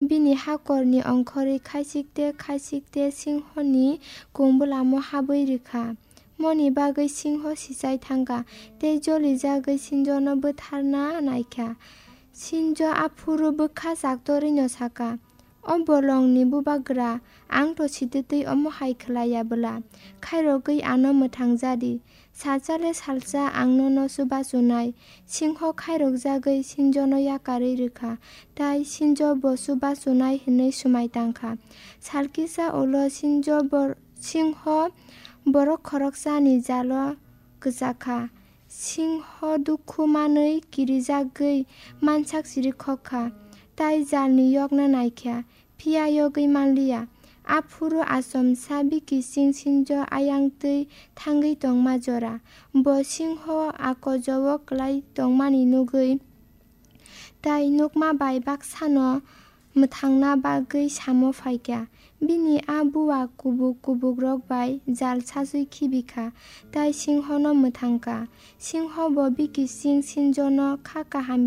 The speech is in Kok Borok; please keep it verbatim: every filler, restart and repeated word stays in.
Bini hakorni ongkhorwi khaisik te khaisik te singhoni kungbwlamo habwi rw kha. Moni bagwi singho sichai thang kha tei jolijagwi sinjono bwtharna nai kha. Sinjo aphuru bwkha chaktorwino sa kha, "O bolongni bubagra, ang to sititwi omo hai khlai ya bwla? Khairogwi ano mwthang ja di. Salsa le salsa ang nono chubachu nai." Singho khairokjagwi sinjono yakarwi rw kha, tai sinjo bo chubachu nai hwnwi swmai tang kha. Sal kisa ulo sinjo bor-, singho borok khoroksani jalo kwchak kha. Singho dukhu manwi kirijagwi mansak siri khok kha, tai jalni yokna nai kha, phiya yogwi man liya. Aphuru achomsa bikising sinjo ayang twi thangwi tongma jora. Bo singho akojo-o klai tongmani nugwi tai nukma bai baksano mwthangna bagwi samo phai kha. Bini a bua kubuk kubukrok bai jal sajwi khibi kha, tai singhono mwthang kha. Singho bo bikising sinjono kha kaham